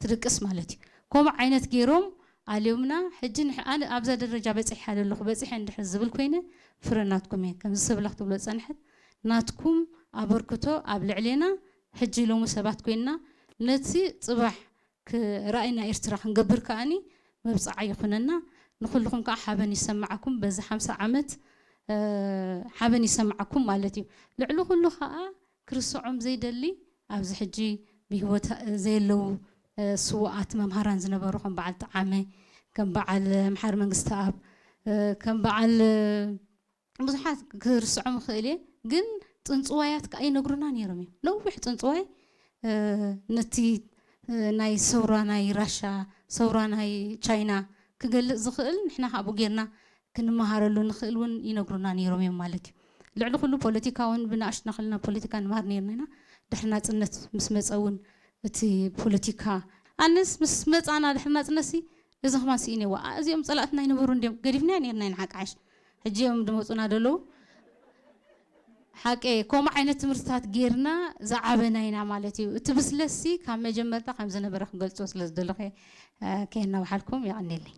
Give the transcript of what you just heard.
ትድቅስ ማለት እዩ። ከምኡ ዓይነት ገይሮም ኣልዮምና። ሕጂ ንሕ- ኣነ ኣብዛ ደረጃ በፂሐ ኣለኹ፣ በፂሐ እንድሕር ዝብል ኮይነ፣ ፍረ ናትኩም እየ። ከምዚ ሰብለ ክትብሎ ዝፀንሐት፣ ናትኩም ኣበርክቶ ኣብ ልዕሌና፣ ሕጂ ሎሚ ሰባት ኮይንና፣ ነቲ ፅባሕ ራእይና ኤርትራ ክንገብር ከኣኒ መብፅዓ ይኹነና። ንኹልኹም ከዓ ሓበን ይሰማዓኩም። በዚ ሓምሳ ዓመት ሓበን ይሰማዓኩም ማለት እዩ። ልዕሊ ኩሉ ከዓ ክርስዖም ዘይደሊ፣ ኣብዚ ሕጂ ብህይወት ዘየለዉ ስዉኣት መምሃራን ዝነበሩ፣ ከም በዓል ጠዓመ፣ ከም በዓል ምሓር መንግስቲ ኣብ፣ ከም በዓል ብዙሓት ክርስዖም እኽእል እየ። ግን ፅንፅዋያት ከዓ ይነግሩና ነይሮም እዮም። ነዊሕ ፅንፅዋይ ነቲ ናይ ሰውራ ናይ ራሻ፣ ሰውራ ናይ ቻይና ክገልፅ ዝኽእል፣ ንሕና ካብኡ ጌርና ክንመሃረሉ ንኽእል እውን ይነግሩና ነይሮም እዮም ማለት እዩ። ልዕሊ ኩሉ ፖለቲካ እውን ብንኣሽቱና ከለና ፖለቲካ ንመሃር ነይርና ኢና። ድሕሪ ናፅነት ምስ መፀ እውን እቲ ፖለቲካ፣ ኣነስ ምስ መፃና ድሕሪ ናፅነት ሲ፣ እዚ ከማን ስኢነዋ፣ እዚኦም ፀላእትና ይነበሩ እንዲዮም፣ ገዲፍና ነይርና ኢና ሓቃሽ። ሕጂ እዮም ድመፁና ደለዉ። ሓቂ ከምኡ ዓይነት ትምህርትታት ጌርና ዝዓበና ኢና ማለት እዩ። እቲ ብስለሲ ካብ መጀመርታ ከም ዝነበረ ክገልፆ ስለ ዝደለኹ ከየናውሓልኩም የቐኒለይ።